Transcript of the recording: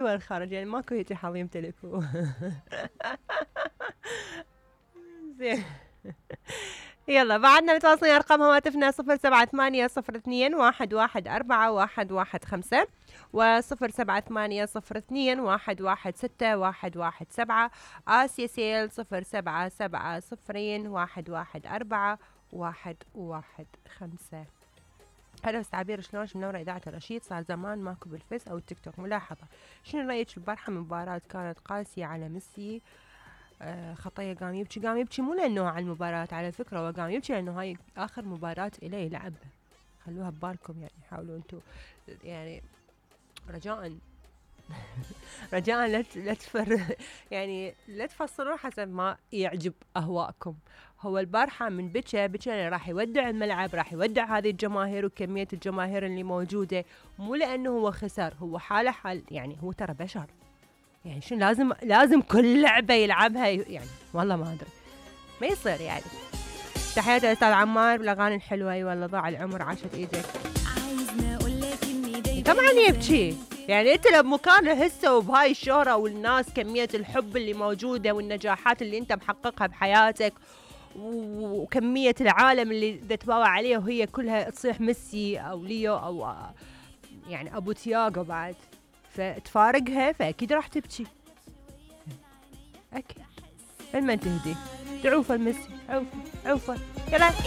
والخارج يعني ماكو هيك حظ يمتلكوه. زين. يلا بعدنا متواصلين ارقام هواتفنا 078021141115 و0780211617 آسيا سيل 0770114115. هلا بس عبير، شلون منورة إذاعة الرشيد؟ صار زمان ماكو بالفيس أو التيك توك. ملاحظة، شنو رأيك البارحة من مباراة كانت قاسية على ميسي؟ خطية قام يبكي مو لأنه على المباراة، على فكرة هو قام يبكي لأنه هاي آخر مباراة إليه يلعبها. خلوها ببالكم يعني، حاولوا أنتوا يعني رجاء رجاء يعني لا تفصلون حسب ما يعجب أهواءكم. هو البارحة من بكى لأنه راح يودع الملعب، راح يودع هذه الجماهير وكمية الجماهير اللي موجودة، مو لأنه هو خسر. هو حاله حال يعني، هو ترى بشر يعني، شنو لازم كل لعبة يلعبها يعني؟ والله ما أدري، ما يصير يعني. تحياتي لأستاذ عمار بالأغاني الحلوة. أي والله ضاع العمر، عاشت إيدك. طبعا يبكي يعني، انت لو مكانه هسه وبهاي الشهرة والناس كمية الحب اللي موجودة والنجاحات اللي انت محققها بحياتك وكمية العالم اللي تتباوع عليه، وهي كلها تصيح ميسي او ليو او يعني ابو تياغو بعد، فتفارقها فاكيد راح تبكي اكيد. لما تهدي تعوفه الميسي، عوفه يلا.